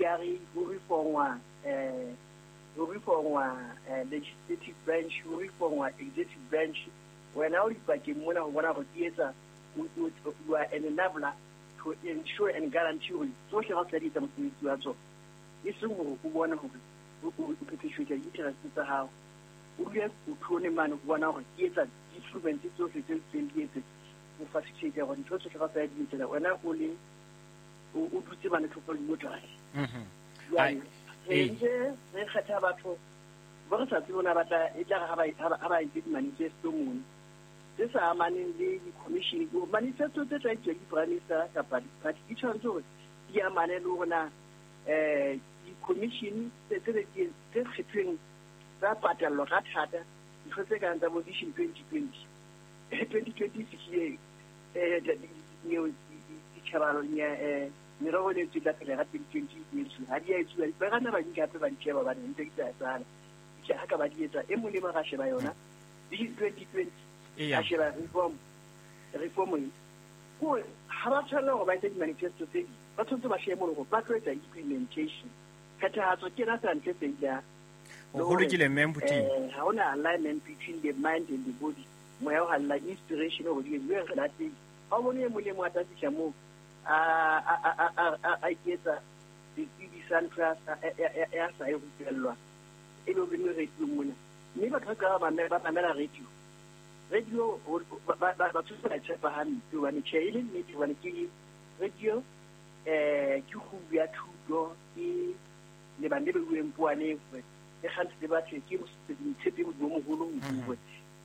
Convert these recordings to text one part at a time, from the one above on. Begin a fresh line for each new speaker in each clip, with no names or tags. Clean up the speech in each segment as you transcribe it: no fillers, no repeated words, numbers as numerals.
Judiciary, ho reformwa ho reformwa legislative branch, ho reformwa executive branch. Wena o dipakeng mona ho bona hore di etsa, you are an enabler to ensure and guarantee hore tsohle kaofela di etsa mosebetsi wa tsona, e seng hore o bone hore o perpetuate di-interest tsa hao. O dule o thone mane ho bona hore di etsa di-instruments tsohle tse itseng di etse ho facilitate hore ntho tsohle kaofela di etsela wena o le o dutse mane thoko le neutral. Jwale re ntse re kgetha batho bo re sa tsebe ona batla e tla re ha ba entse di-manifesto mono tse sa amaneng le di-commission. Manifesto tse tla etsuwa ke di-prime minister kapa di-party di tshwanetse hore di amane le hore na di-commission tse kgethweng tsa patallwa ka thata, ntho tse kang tsa bo Vision 2020. 2020 e fihlile, ditjhaba merero e ne tla phela ka 2020 e etsuwe, ha di a etsuwa. Ba ka nna ba di nka hape ba di sheba hobane ntse di sa etsahala. Ha ka ba di etsa, e mong le mong a sheba yona Vision 2020, a sheba reform e kore ha ba tshwanela hore ba etse di-manifesto tse ding, ba tshwanetse ba shebe mono hore ba tlo etsa implementation. Phethahatso ke ena feela ntho e feilang.
Ho lokile mme Mputing.
Ha hona alignment between the mind and the body. Moya o halala inspiration hore di etsuwe re lahlehile. Ha o bone e mong le mong a tla fihla moo a iketsa setsebi sa ntho ya sa e rupellwa, e be o kene radio mona. Mme batho ba qala ba mamela radio. Radio batho ba tshepa hampe hobane tjhe e le nnete, hobane ke radio ke kgubu ya thuto, ke lebang le beuweng poaneng hore le kgantse le batho, ke motshepe Modimo o moholo hore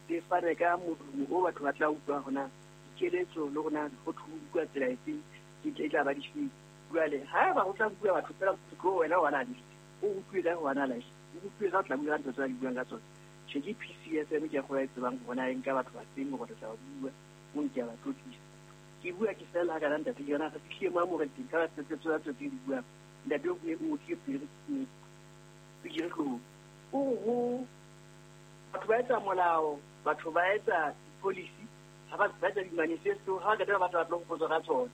le fane ka modumo o batho ba tla utlwa hona dikeletso le hona ho utlwa tsela efeng e tla ba difeng. Jwale haeba ho tla bua batho fela tlo wena o analyst, o utlwe ka ho analyse, o utlwe ka o tla bua ka ntho tse ba di buang ka tsona. Tjhe ke PCFM ke a kgolwa e tsebang hore na e nka batho ba feng hore re tla ba bua, mo nke a ba tlotlisa. Ke bua ke fela ha kana ntate ke yona re fihlile mo a mo re teng ka ba tse tse tse di buang. Ntate o ne o tlile pele pele hloohong. O ho batho ba etsa molao, batho ba etsa di-policy, ha ba etsa di-manifesto, ha ba qeta ba batla ba tlo hopotswa ka tsona.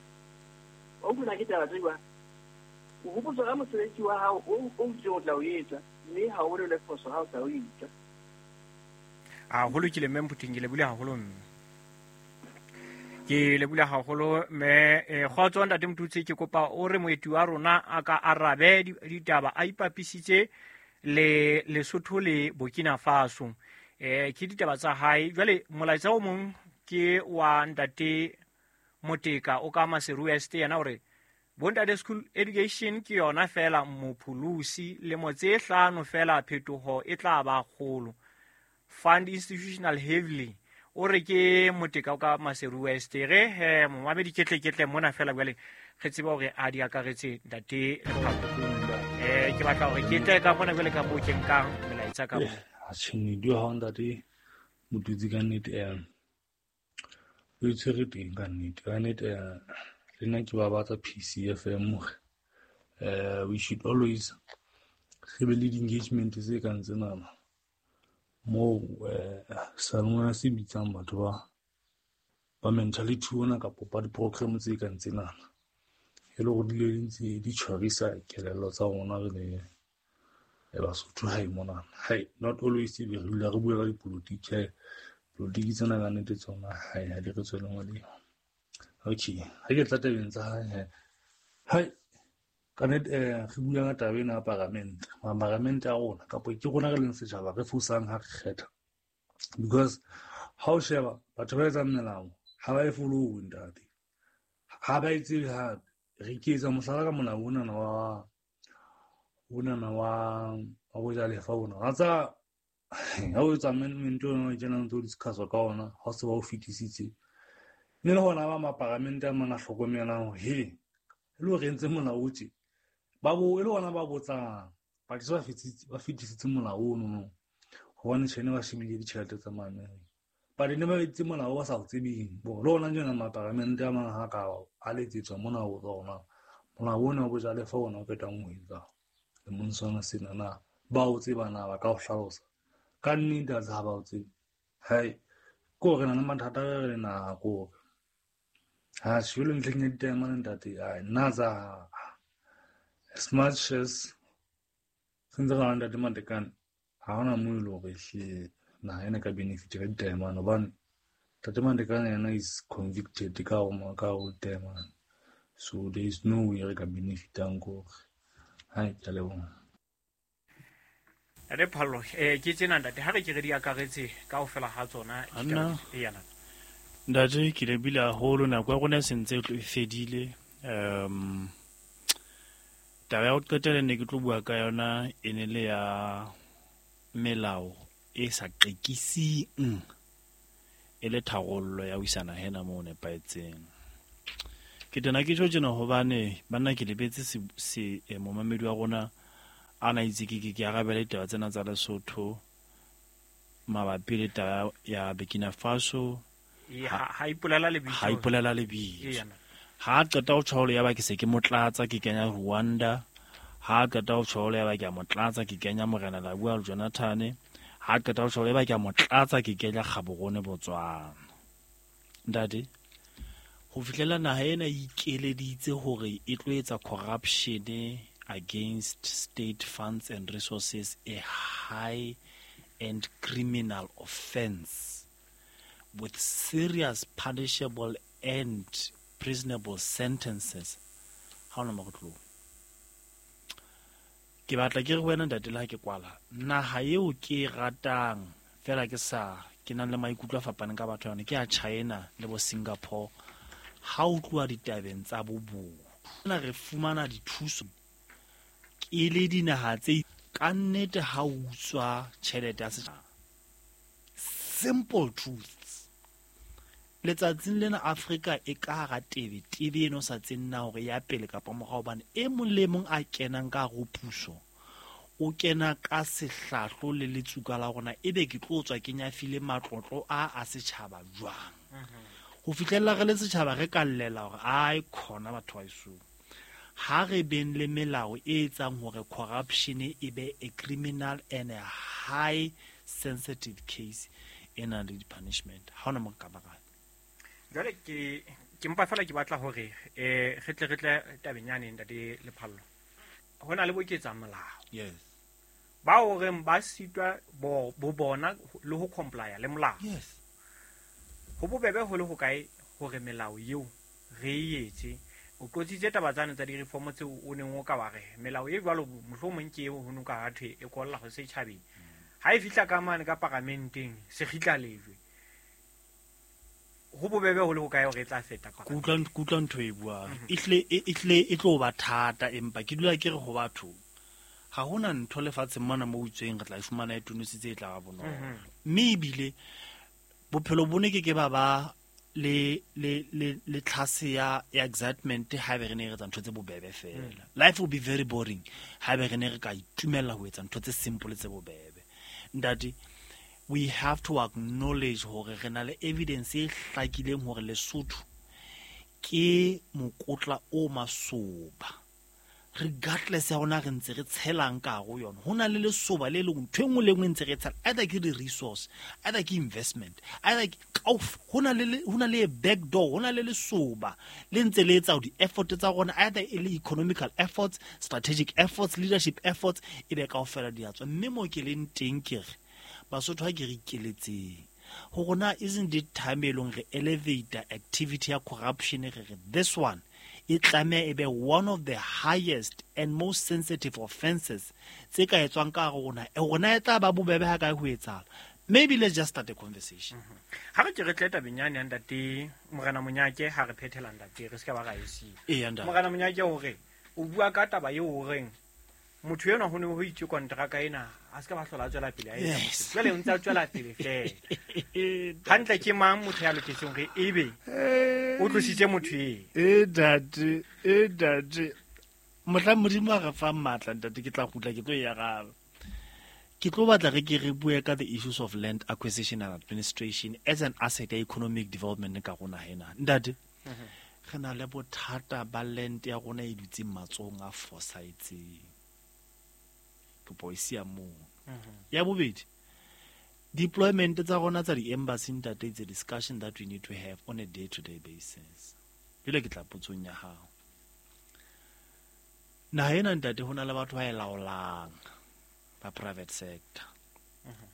O utlwa ke taba tse jwang? O hopotswa ka mosebetsi wa hao o itseng o tla o etsa, mme ha o bone le phoso ha o sa o etsa.
A ho lokile mme Mputing, ke lebule haholo mme. Ke lebule haholo mme kgotso ntate Motutsi, ke kopa o re moeti wa rona a ka arabe ditaba a ipapisitse le Lesotho le Burkina Faso. Ke ditaba tsa hae. Jwale molaetsa o mong ke wa ntate Moteka o ka Maseru West, yena hore bontate school education ke yona fela mopholosi, lemo tse 5 fela phetoho e tla ba kgolo. Fund institutional heavily. O re ke Moteka o ka Maseru West. Re he momamedi ketle mona fela jwale re tsebe hore a di akaretse ntate Lephakong. Ke batla hore ke tle ka mona jwale ka moo ke nkang melaetsa ka moo.
A tjhe di ha ntate Motutsi ka nnete o itshwere teng ka nnete. Ka nnete le nna ke babatsa PCFM hore we should always re be le di-engagement tse kang tsenana moo seyalemoya se bitsang batho ba mentality ona kapa ba di-program tse kang tsenana, e le hore di le ntse di tshwarisa kelello tsa rona re le Basotho hae monana. Hai, not always e be re dula re bua ka dipolotiki. Hai, polotiki tsena ka nnete tsona hai ha di re tswele molemo. Okay, ha ke tla tabeng tsa hae, hai ka nnete re bua ka taba ena ya paramente. Paramente ya rona kapa ke rona re leng setjhaba re fosang ha re kgetha, because ha o sheba batho ba etsang melao ha ba e follow ntate, ha ba e tsebe hape. Re ke etsa mohlala ka molao onana wa bojalefa ona. Wa tsa ha o etsa amendment ona o kenang ntse o discuss ka ona, ha o se ba o fetisitse. Mme le hona ba maparamente a mang a hlokomelang hore he e le hore entse molao o tje, ba bo e le hona ba botsang ba ke ba fetisitse molao ono no, hobane tjhe ne ba shebile ditjhelete tsa Maamerika. But ne ba etse molao ba sa o tsebeng. Bo le hona jena maparamente a mang ha ka a letsetswa mona ho tsona molao ona wa bojalefa ona o qetang ho etsa lemong sona sena, na ba o tseba na ba ka o hlalosa ka nnete? A ha ba o tsebe. Hai, ke hore re na le mathata re le naha, ke hore ha jwale ntlheng ya ditaemane ntate, ai nna tsa As much as re ntse re na le Ntate Matekane, ha hona moo e le hore ehlile naha ena e ka benefit ka ditaemane, hobane Ntate Matekane yena is convicted ka ho ditaemane. So there is no way re ka benefitang ko hore. Hai, ke a leboha.
Ntate Phallo, ke tsena ntate, ha re ke re di akaretse kaofela ha tsona.
Anna.
Eya, ntate.
Ntate, ke lebile haholo, nako ya rona e sentse e tlo e fedile. Taba ya ho qetela ne ke tlo bua ka yona e ne le ya melao e sa qekising e le tharollo ya ho isa naha ena moo nepahetseng. Ke tena ke tjho tjena hobane banna ke lebetse momamedi wa rona a na itse ke arabele ditaba tsena tsa Lesotho mabapi le taba ya Burkina Faso.
Ha ipolela lebitso.
Ha ipolela lebitso. Ha qeta ho tjho ya ba ke se ke motlatsa ke kenya Rwanda. Ha qeta ho tjho ya ba ke a motlatsa ke kenya Morena Labua Jonathan. Ha qeta ho tjho ya ba ke a motlatsa ke kenya Gaborone Botswana. Ntate, ho fihlela naha ena e ikeleditse hore e tlo etsa corruption against state funds and resources a high and criminal offense with serious punishable and prisonable sentences. Ha ona mo re tlo. Ke batla ke re wena ntate le ha ke kwala, naha eo ke e ratang fela ke sa ke nang le maikutlo a fapaneng ka batho yona ke ya China le bo Singapore. Ha o tloha ditabeng tsa bobodu, na re fumana dithuso ke le dinaha tse ka nnete ha o utswa tjhelete ya setjhaba. Simple truths. Letsatsing lena Afrika e ka hara tebe, tebe eno sa tsenna hore ya pele kapa morao, hobane e mong le mong a kenang ka hare ho puso o kena ka sehlahlo le letsuka la rona, ebe ke tlo tswa ke nyafile matlotlo a setjhaba jwang. Ho fihlella re le setjhaba re ka llela hore ai khona batho ba eso. Ha re beng le melao e etsang hore corruption e be a criminal and a high sensitive case e nang le di-punishment. Ha hona mo ka ba kae.
Jwale ke mpa fela ke batla hore re tle tabeng yane ntate Lephallo. Ho na le boketsa molao.
Yes.
Ba o reng ba sitwa bo bona le ho comply le molao.
Yes.
Ho bobebe ho le ho kae hore melao eo re e etse. O qotsitse taba tsane tsa di-reform tseo o neng o ka wa re melao e jwalo mohlomong ke eo ho no ka ha thwe e kolla ho setjhabeng. Ha e fihla ka mane ka paramenteng se kgitla lejwe. Ho bobebe ho le ho kae hore e tla feta
ka. Ke utlwa ntho e buang. Ehlile e tlo ba thata, empa ke dula ke re ho batho ha hona ntho lefatsheng mona mo utsweng re tla e fumana e tonositse e tla ba bonolo. Mme ebile bophelo bo ne ke ke ba ba le tlhase ya excitement ha be re ne re etsa ntho tse bobebe fela. Life will be very boring ha be re ne re ka itumella ho etsa ntho tse simple tse bobebe. Ntate, we have to acknowledge hore re na le evidence e hlakileng hore Lesotho ke mokotla o masoba. Regardless ya rona re ntse re tshelang ka hare ho yona, ho na le lesoba le leng ntho e nngwe le nngwe ntse re tshela, either ke di-resource, either ke investment, either ke ho na le back door, ho na le lesoba le ntse le etsa di-effort tsa rona, either e le economical efforts, strategic efforts, leadership efforts, e be kaofela di a tswa. Mme mo ke leng teng ke re Basotho ha ke re ikeletseng ho rona, isn't it time e leng re elevate activity ya corruption, re re this one e tlameha e be one of the highest and most sensitive offenses tse ka etswang ka hare rona, e rona e tla ba bobebe ha kae ho etsahala. Maybe let's just start a conversation.
Ha re ke re tle tabeng yane ya ntate Morena Monyake, ha re phethela ntate re se ka ba ra e siya. Morena Monyake hore o bua ka taba eo horeng motho enwa ho ne ho itse kontraka ena a se ka ba hlola a tswela pele a etsa. Jwale o ntse a tswela pele fela. Hantle ke mang motho ya loketseng hore ebe o tlositse motho eo?
Ntate. Mohla Modimo a re fang matla ntate, ke tla kgutla ke tlo e araba. Ke tlo batla re ke re bue ka the issues of land acquisition and administration as an asset ya economic development ka rona hena. Ntate, re na le bothata ba land ya rona e dutseng matsohong a fosahetseng. Kopo e siya moo. Ya bobedi, deployment tsa rona tsa di-embassy ntate, it's a discussion that we need to have on a day-to-day basis. Jwale ke tla potsong ya hao. Naha ena ntate ho na le batho ba e laolang ba private sector.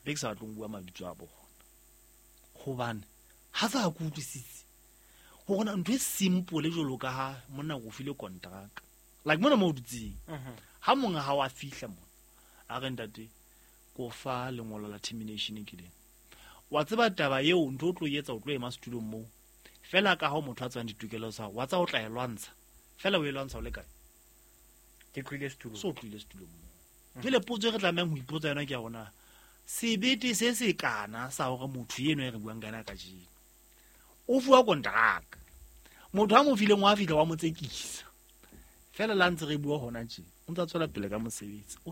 Be ke sa batleng ho bua mabitso a bona hobane ha sa ke utlwisitse hore na ntho e simple jwalo ka ha monna o file kontraka like mona mo o dutseng, ha monga hao a fihla mona a re ntate ko fa lengolo la termination ke leng, wa tseba taba eo ntho o tlo etsa, o tlo ema setulong moo fela ka ha o motho a tswang ditokelo tsa hao, wa tsa o tla e lwantsha fela, o e lwantsha o le kae?
Ke tlohile setulong.
So tlohile setulong moo. Jwale potso e re tlamehang ho ipotsa yona ke ya rona, sebete se se kana sa hore motho eno e re buang ka yena kajeno o fuwa kontraka, motho a mo fileng wa fihla wa mo tsekisa fela, la ntse re bua hona tje o ntse a tswela pele ka mosebetsi o.